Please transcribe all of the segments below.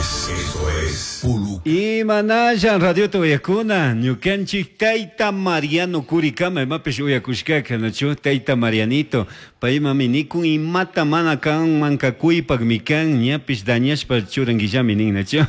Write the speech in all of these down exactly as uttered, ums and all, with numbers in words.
es, esto es Puluc. Imanalla radiota uyakuna, ñukanchik tayta Mariano Curicama, imapish uyakushkaka, nachu tayta Marianito, paymami nikun imata mana kanman kakuypakmi kan, ñapish dañashpa churanguillami nin, nachu.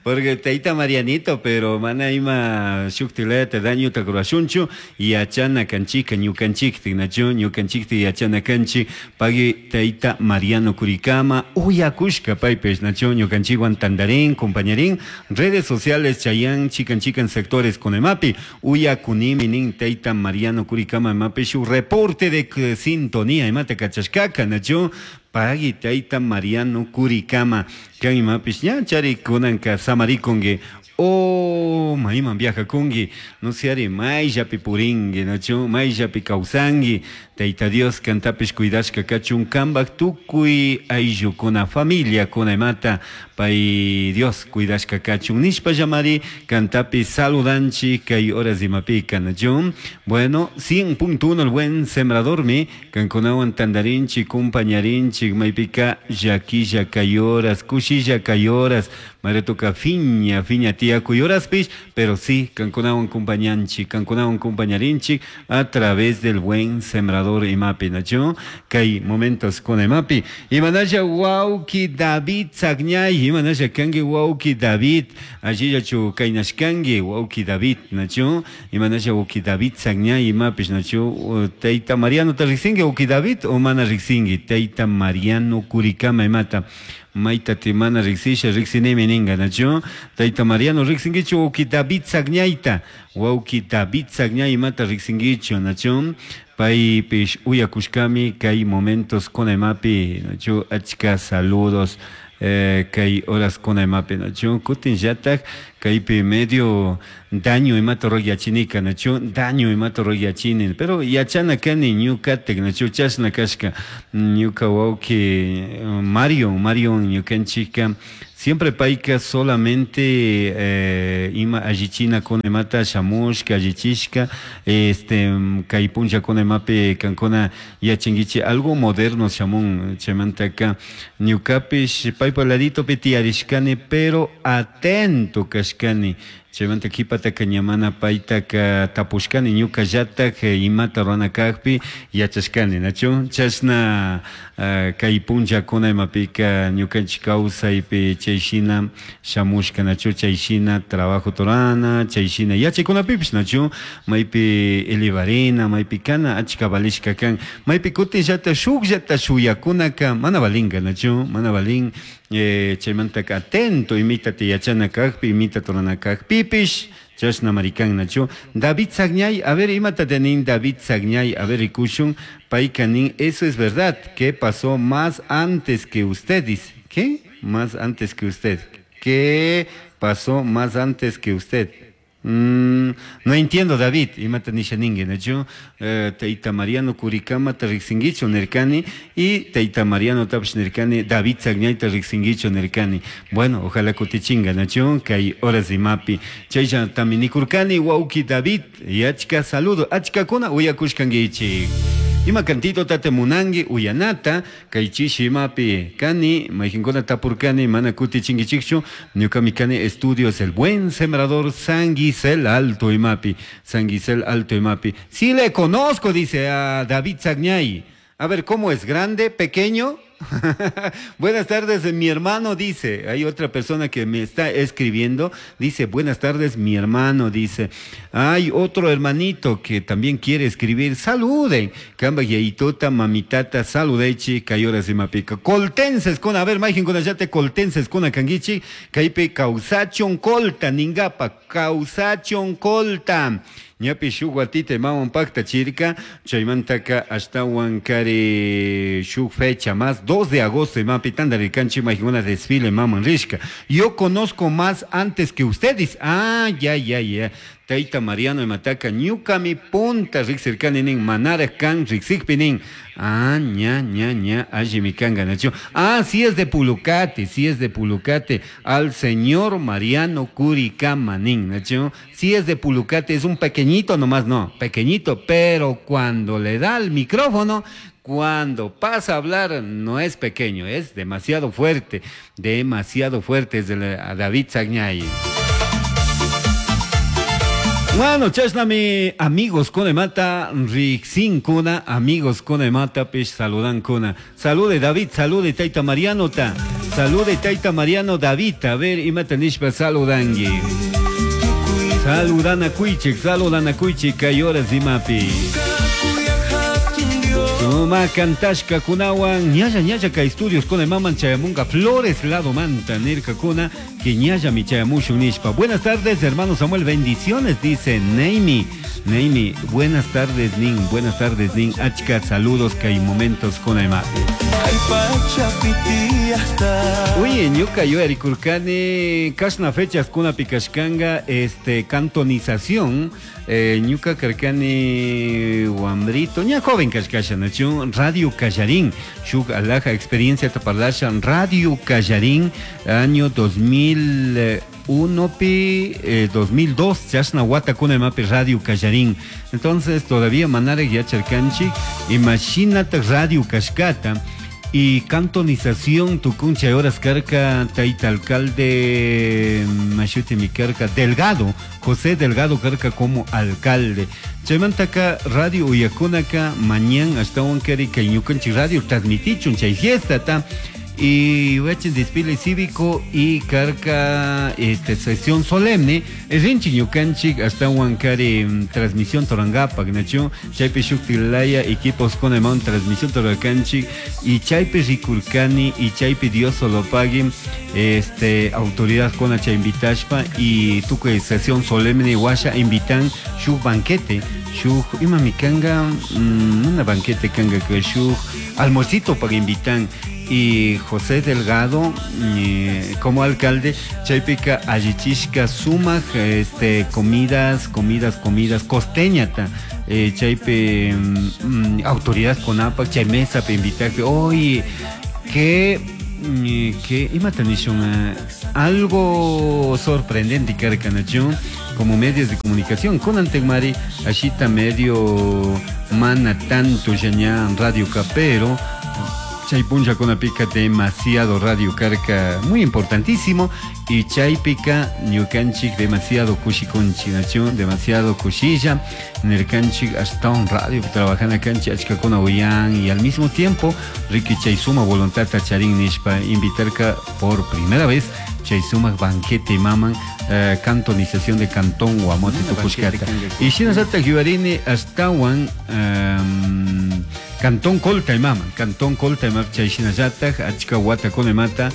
Porque tayta Marianito, pero mana ima shuktilayata dañuta rurashunchu, yachana kanchika ñukanchiktik, nachu, ñukanchiktik yachana kanchik, pagui tayta Mariano Curicama, uyakushka paypish, nachu, ñukanchikwan tandarin, compañerín, redes sociales chayan chikan chikan sectores con emapi, uyakunimi nin tayta Mariano Curicama emapi shu reporte de sintonía imata kachashkaka, nachu, pagui tayta Mariano Curicama, kan imapish ña chari kunanka samarikunki, o mayman viajakunki, no sé ari mayllapi purinki, nachu, mayllapi kawsanki, Tayta Dios kantapish cuidashka kachun kanpak tukuy ayllukuna familiakuna imata pay Dios cuidashka kachun nishpa llamari kantapi saludanchik kay horas imapika, nachu. Bueno, cien punto uno el buen sembradormi kankunawan tandarinchik kumpañarinchik maypika llakilla kay horas kushilla kay horas maretoka fiña fiña tiyakuy horaspish, pero sí kankunawan kumpañanchik kankunawan kumpañarinchik a través del buen sembrador imapi, nachu, kay momentos con imapi. Imanalla wawki David Sagñay, imanalla kanki wawki David, allillachu kaynashkanki wawki David, nachu, imanalla wawki David Sagñay imapish, nachu, tayta Mariano ta riqsinki wawki David o mana riqsinki tayta Mariano Curicama imata. Mayta timana riqsisha riqsinimi ninga, nachu, tayta Mariano riqsinkichu wawki David Sagñayta, wawki David Sagñay imata riqsinkichu, nachu, paypish uyakushkami kay momentos con imapi, nachu, achka saludos, eh, kay horas con imapi, nachu, kutin llatak kaypi medio daño imata rurayachinika, nachu, daño imata rurayachini, pero yachana kani ñukatik, nachu, chashna kashka ñuka wawki Mario, Mario ñukanchika siempre payka solamente eh, ima allichina con imata shamushka allichishka, este, kay punlla con imapi kankuna yachankichik algo moderno shamun chaymantaka ñukapish paypa laditopi tiyarishkani pero atento kashkani chaymanta qhipataka ñamana paytaka tapushkani ñukallatak imata rurana kajpi yachashkani, nachu, chashna uh, kay punllakuna imapika ñukanchik kawsaypi chayshina shamushka, nachu, chayshina trabajo turana, chayshina yachaykunapipish, nachu, maypi elevarina, maypi kana achka valishka kan, maypi kutinllata shukllata shuyakunaka mana valinka, nachu, mana valin, eh, chaymantaka atento imitata yachana kajpi, imita turana kajpipish, chashna marikan, nachu. David Sagñay, a ver, imata nin David Sagñay, a ver, rikushun, payka nin, eso es verdad, ¿qué pasó más antes que usted? Dice, ¿qué? Más antes que usted. ¿Qué pasó más antes que usted? Mm, no entiendo, David, imata nisha ningi, nachu, eh, tayta Mariano Curicama ta riqsinkichu nirkani y tayta Mariano tapish nirkani, David Sagñayta riqsinkichu nirkani. Bueno, ojalá kutichinga, nachu, kay horas imapi. Chaylla nikurkani, wawki David, y achka saludo, achkakuna uyakushkankichik. Ima cantito tate munangi uyanata, kay chishi imapi kani, mayqinkuna tapurkani, mana kutichinkichikchu, ñukami kani estudios El Buen Sembrador San Gisel Alto imapi, San Gisel Alto imapi. Sí le conozco, dice a David Sagñay. A ver, ¿cómo es? ¿Grande? ¿Pequeño? Buenas tardes, mi hermano, dice. Hay otra persona que me está escribiendo. Dice, buenas tardes, mi hermano, dice. Hay otro hermanito que también quiere escribir. Saluden. Kamba yaitota, mamitata, saludechi, kayoras y mapica. Coltenses con, a ver, majin con allate, coltenses con akangichi. Kaipe causachon colta, ningapa, causachon colta. Ñapi shuk watita imawan pakta chirka, chaymantaka ashtawan kari shuk fecha más, dos de agosto imapi tandarirkanchik mayqinuna desfile maman rishka. Yo conozco más antes que ustedes. Ah, ya, ya, ya. Tayta Mariano imataka ñukami punta riqsirkani nin manara kan riqsikpi nin. Ah, ña, ña, ña, allimi kanka, nachu. Ah, sí es de Pulucate, sí es de Pulucate. Al señor Mariano Curicama nin, nachu. Sí es de Pulucate, es un pequeñito nomás, no, pequeñito, pero cuando le da el micrófono, Cuando pasa a hablar no es pequeño, es demasiado fuerte, demasiado fuerte es el, a David Sagñay. Bueno, chashnami amigos con mata, Rixin kuna, amigos con mata, pish saludan kuna. Salude David, salude Taita Mariano ta. Salude Taita Mariano David, a ver, imata nishpa saludangui. Saludan a Cuichik, saludan a Cuichik, kay horas imapi. Suma kantashka kunawan, ñalla ñalla ka estudios con el maman chayamunga Flores lado manta nirka kuna, que ñalla mi chayamushun nishpa. Buenas tardes, hermano Samuel, bendiciones, dice Neimi. Neimi, buenas tardes, Nin, buenas tardes, Nin. Achka, saludos, que hay momentos con el mate. Oye, ñuka yo erikurkani, kashna fechas kuna pikashkanga, este, cantonización, eh, ñuka karkani wambrito, ña joven kashkasha, nachu, Radio Callarín, shuk alaja experiencia taparlasha, Radio Callarín, año dos mil uno pi, eh, dos mil dos, chashna wata kuna mapi Radio Callarín. Entonces todavía manare yacharkanchik, imagínate Radio Kashkata y cantonización tucuncha horas carca taita alcalde mashuti mi carca Delgado, José Delgado carca como alcalde. Chaymantaka Radio Uyakunaka mañana hasta un keri que ñukanchik radio transmitichun chay fiesta ta. Y huachin desfile cívico y carca este sesión solemne rinchi ñukanchik hasta huancari transmisión torangapak nacho chaypi shuktilaya equipos con el transmisión toranganchik y chaypi rikurkani y chaypi Dios solo pague este autoridad con hacha invitashpa y tuque sesión solemne washa invitan shuk banquete shuk ima mikanga una banquete kanga que shuk almuercito para invitan. Y José Delgado, eh, como alcalde, chaypica allichishka sumaj, este, comidas, comidas, comidas, costeñata, eh, chaype, mm, autoridad conapa, chay mesa pe invitar, oye, que, que, imata nishun, algo sorprendente, carcanachun, como medios de comunicación, con Antegmari, ashita medio mana tanto, ya Radio Capero, Chaypuncha con la pica demasiado Radio Carca, muy importantísimo, y Chaypica, ñukanchik, demasiado kushikunchi, nación, demasiado kushilla, nerkanchik, hasta un radio, trabajan acá en Chachcacona Oyan, y al mismo tiempo, Ricky Chaysuma, voluntad tacharín nishpa, invitarca por primera vez, Chaysuma, banquete maman, eh, cantonización de Cantón Guamote Tucushcata. Y Shinasata Jibarini, hasta un um, Cantón Colta y Mama, Cantón Colta y Mama, chay shinallata, achka wata konemata,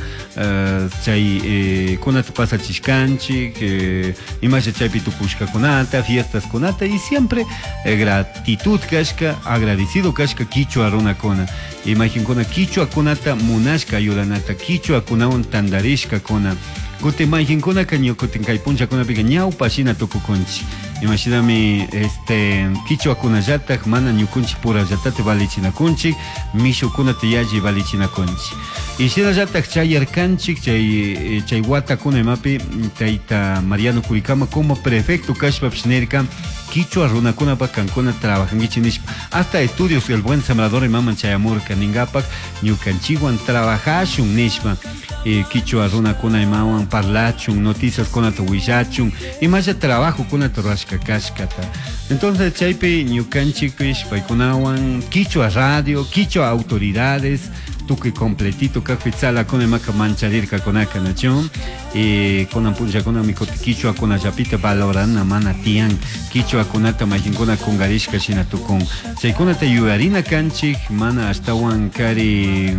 chay kunata pasa chishkanchik, imasha chaypi tukushka kunata, fiestas kunata, y siempre eh, gratitud kashka, agradecido kashka kichwa runakuna. Imagen kuna kichwa kunata munashka ayudanata, kichwa kunawan tandarishka kuna. Kutin majinkuna ñukutin kay punchakunapika ñawpa shina tukukunchik. Imashinami este kichwakunallatak mana ñukunchik purallatate valichinakunchik, mishukunata yalli valichinakunchik. Y shinallatak chayarkanchik chay chay watakuna imapi tayta Mariano Curicama como prefecto kashpapish nirka kichwa runakunapak kankuna trabajankichik nishpa hasta estudios el buen sembrador imaman chayamurka ningapak ñukanchikwan trabajashun nishpa. Eh, kichwa runakuna imawan parlachun, noticias kunata willachun, imalla trabajo kunata rurashka kashkata. Entonces chaypi ñukanchikpish paykunawan kichwa radio, kichwa autoridades, tukuy completito kajpi tzalakuna imaka mancharirka kunaka nachun, eh, kunan punllakuna mikoti kichwa kunallapita valorana mana tiyan, kichwa kunata majinkuna kungarishka shina tukun. Chaykunata yuyarina kanchik, mana ashtawan kari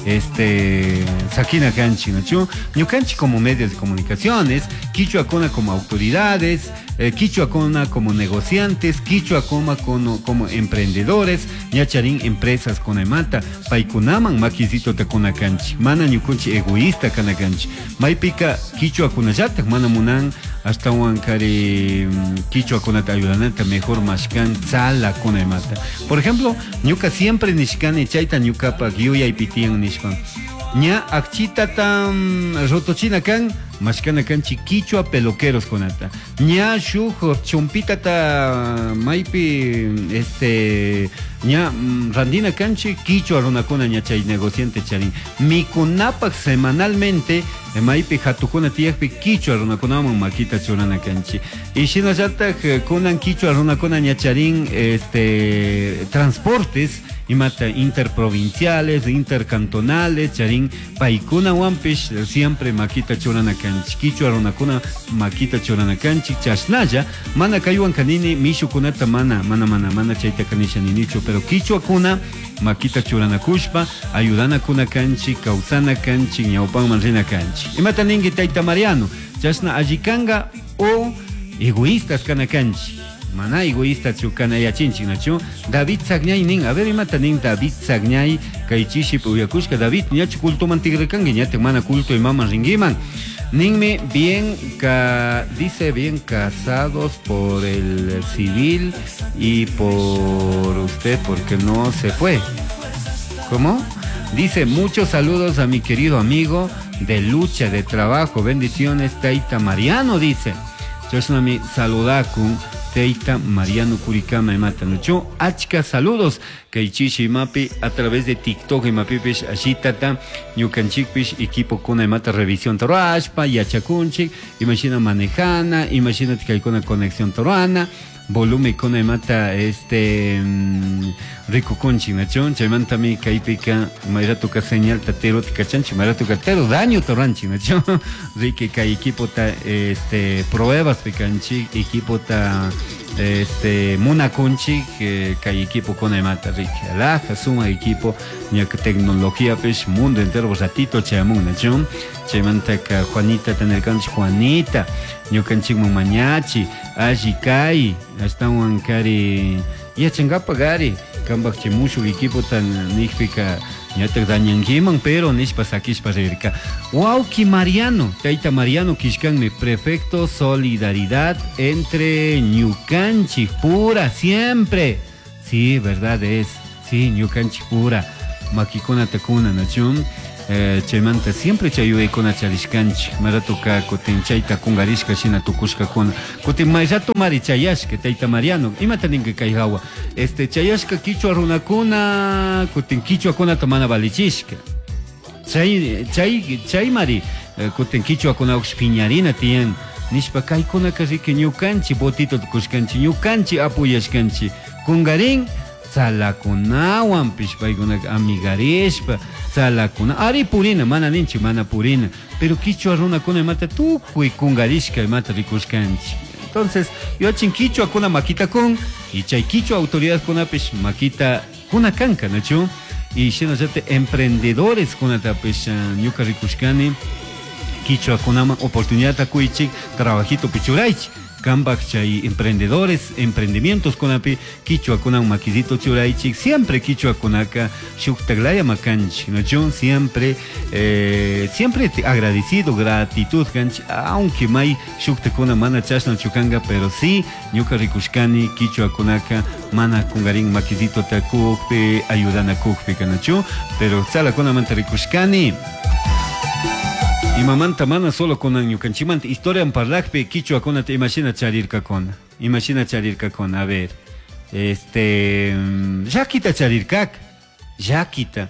este sakina kanchik nachu, ñukanchik como medios de comunicaciones, kichwa kuna como autoridades, eh, kichwa kuna como negociantes, kichwa kuna como, como emprendedores, ñacharín empresas kunamanta, paykunaman makisito ta kuna kanchik, mana ñukunchik egoísta kana kanchik, maypika kichwa kunallatak mana munan ashtawan kari kichwa kunata ayudanata mejor mashkan tzala kunamata. Por ejemplo, ñuka siempre nishkani chayta ñukapak yuyaypi tiyan nishpa. Ña akchitata rotochina kan mashkana kanchik kichwa peluqueros kunata. Ña shuk chompitata maypi este ña randina kanchik kichwa runakuna ña chay negociante charin. Mikunapak semanalmente maypi hatukuna tiyakpi kichwa runakunaman makita churana kanchik. Y shinallatak kunan kichwa runakuna ña charin este transportes imata interprovinciales, intercantonales, charin paykunawanpish siempre makita churana kanchik. Kichwa runakuna makita churana kanchik chashnalla mana kaywan kanini mishukunata mana mana mana mana chayta kanisha ninichu, pero kichwakuna makita churanakushpa ayudanakuna kanchik, kawsana kanchik, ñawpanman rina kanchik. Imata ninki tayta Mariano, chashna allikanga o egoístas kana kanchik. Mana egoísta chukana yachinchik nachu. David Sagñay nin, a ver imata nin David Sagñay kay chiship uyakushka. David ñachu culto man tigrekanki ñatak mana culto imaman rinkiman. Ninmi bien ca, dice bien casados por el civil y por usted porque no se fue. ¿Cómo? Dice, muchos saludos a mi querido amigo de lucha, de trabajo, bendiciones, Taita Mariano, dice. Chashnami saludakun Teita Mariano Curicama imata nuchu. Achka saludos kay chishi imapi a través de TikTok imapipish ashitata ñukanchikpish equipo kuna imata revisión toruashpa yachakunchik imashina manejana imashina kaykuna conexión toruana volumen kuna imata este rikukunchik nachun chaymantami kaypika mayratuka señal tatero kachanchik mayratuka tero daño toranchik nachun riki kay equipo ta este pruebas pikanchik equipo ta este munakunchik eh, kay equipo kuna imata riki alaja suma equipo ñaka tecnología pish mundo entero ratito chayamun nachun chaymantaka Juanita tenerkanchik Juanita ñukanchikman mañachi alli kay ashtawan kari yachankapak ari kanpak chay mushuk equipo tan nijpika ñatak dañankiman pero nishpa sakishpa rirka. Wawki Mariano, tayta Mariano kishkanmi prefecto solidaridad entre ñukanchik pura siempre. Sí, verdad es, sí, ñukanchik pura makikunata kuna nachun. Eh, chaymanta siempre chayuykuna charishkanchik maratuka kutin chayta kungarishka shina tukushkakuna kutin mayrato mari chayashka tayta Mariano imata ninki kay hawa este chayashka kichwa runakuna kutin kichwakunata mana valichishka chay chay chay mari kutin kichwakunapish piñarina tiyan nishpa kaykunaka riki ñukanchik botito tukushkanchik ñukanchik apuyashkanchik kungarin tzalakunawanpish paykunaka amigarishpa tzalakuna ari purina mana ninchik mana purina pero kichwa runakuna imata tukuy kungarishka imata rikushkanchik. Entonces yachin kichwakuna makita kun y chay kichwa autoridadkunapish makita kuna kanka nachu y shinallatik emprendedores kunatapish ñuka rikushkani kichwakunaman oportunidadta kuychik trabajito pichuraychik kanpak chay emprendedores, emprendimientos kunapi kichwakunan makisito churaychik siempre kichwakunaka shuktaklaya makanchik nachu siempre eh, siempre agradecido gratitud kanchik aunque may shuktakuna mana chashna chukanka pero sí ñuka rikushkani kichwakunaka mana kungarin makisito takukpi ayudanakukpi kanachu pero tzalakunamanta rikushkani. Imamanta mana solo kunan ñukanchikmanta historia parlakpi kichwakunata imashina charirkakuna imashina charirkakuna a ver este llakita charirkaka llakita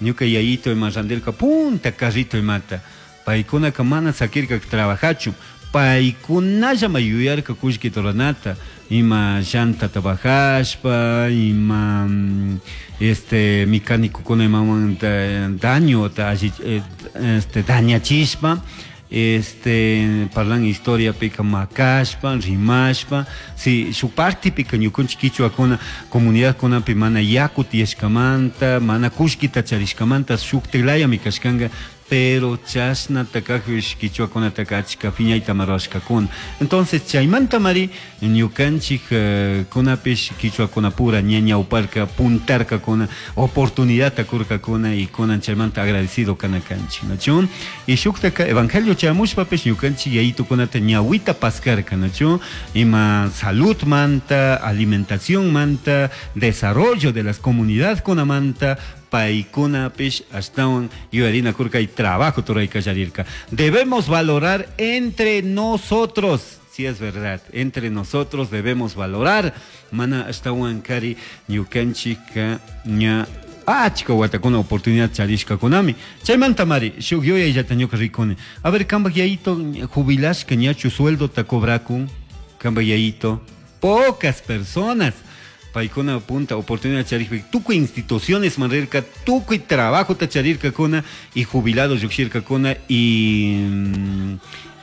ñuka yayito ima randirka punta carrito imata paykunaka mana sakirka trabajachu paykunallama yuyarka kullkita ruranata ima llantata bajashpa ima este mecánicokuna imaman daño este dañachishpa este parlan historia pika makashpa rimashpa si su parte pika ñukanchik kichwakuna comunidadkunapi mana yaku tiyashkamanta mana kullkita charishkamanta shuktilayami kashkanka pero chashnata kajpish kichwakunataka achka phiñayta ruwashkakuna. Entonces chaymanta mari ñukanchik kunapish kichwakunapura ña ñawparka puntarkakuna oportunidadta kurkakuna y kunan chaymanta agradecido kana kanchik nachu y shuktaka evangelio chayamushpapish ñukanchik yayitukunata ñawita paskarka nachu ima salud manta alimentación manta desarrollo de las comunidades kunamanta Paykunapish ashtawan yuyarinakurka y trabajo ruray. Debemos valorar entre nosotros. Sí es verdad, entre nosotros debemos valorar. Mana ashtawan kari ñukanchikka ña achka watakuna oportunidad charishkakunami. Chaymanta mari, shuk yuyayllata ñuka rikuni. A ver, kambak yayito jubilashka ñachu sueldota cobrakun, kambak yayito, pocas personas. Paykuna punta oportunidad charikpi tukuy instituciones man rirka, tukuy trabajota charirkakuna y jubilados llukshirkakuna y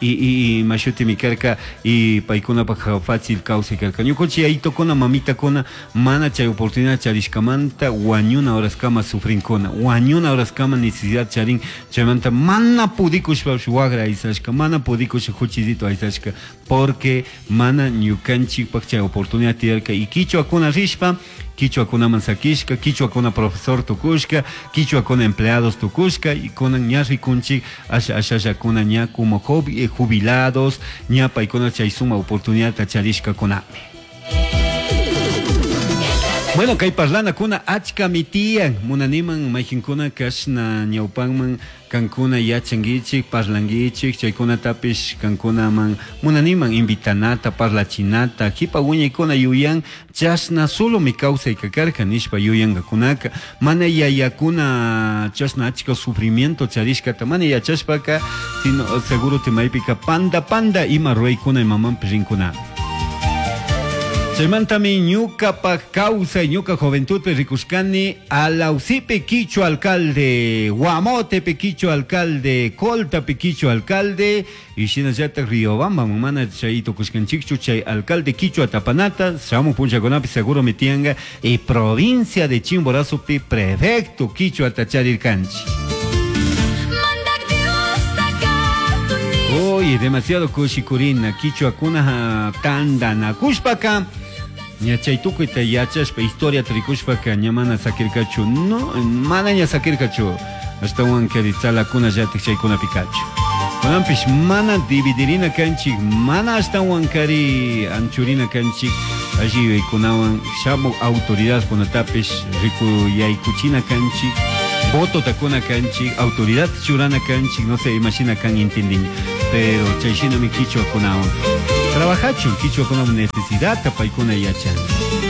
y y, y mashutimi karka y paykunapak fácil kawsay karka. Ñukanchik yayitokuna mamitakuna mana chay oportunidad charishkamanta wañuna horaskama sufrinkuna, wañuna horaskama necesidad charin, chaymanta mana pudikushpapish wagra aysashka, mana pudikushpa juchillito aysashka, porque mana ñukanchikpak chay oportunidad tiyarka y kichwakuna rishpa kichwakunaman sakishka, kichwakuna profesor tukushka, kichwakuna empleados tukushka y kunan ña rikunchik asha ashallakuna ña como jubilados, ña paykuna chay suma oportunidad charishkakunami. Bueno, kay parlanakuna achkami tiyan, munaniman mayqinkuna kashna ñawpanman kankuna yachankichik, parlankichik, chaykunatapish kankunaman munaniman invitanata, parlachinata, jipa wiñaykuna yuyan chashna solomi kawsayka karka nishpa yuyankakunaka, mana yayakuna chashna achka sufrimiento charishkata mana yachashpaka, sino seguro maypika panda panda ima ruraykuna imamanpish rinkunami. Chaymantami ñukapak kawsay, ñuka juventudpi rikushkani Alausipi Quichua alcalde, Guamotepi Quichua alcalde, Coltapi Quichua alcalde y shinallatak Riobamba mana chay tukushkanchikchu chay alcalde Quichua tapanata, shamuj punllakunapi seguro mi tiyanka y provincia de Chimborazopi prefecto Quichua charirkanchik. Oye, demasiado kushikurina, quichuakuna tandanakushpaka ña chay tukuyta yachashpa historia rikushpaka ña mana sakirkachu, no, mana ña sakirkachu, ashtawan kari tzalakuna llatik chaykunapi kachu. Kunanpish mana dividirina kanchik, mana ashtawan kari anchurina kanchik, alli yuyaykunawan shamuj autoridadkunatapish rikuyaykuchina kanchik, votota kuna kanchik, autoridad churana kanchik, no sé, imashina kan intendini, pero chayshinami kichwakunawan trabajachun, kichwakunawan necesidad paykuna yachan.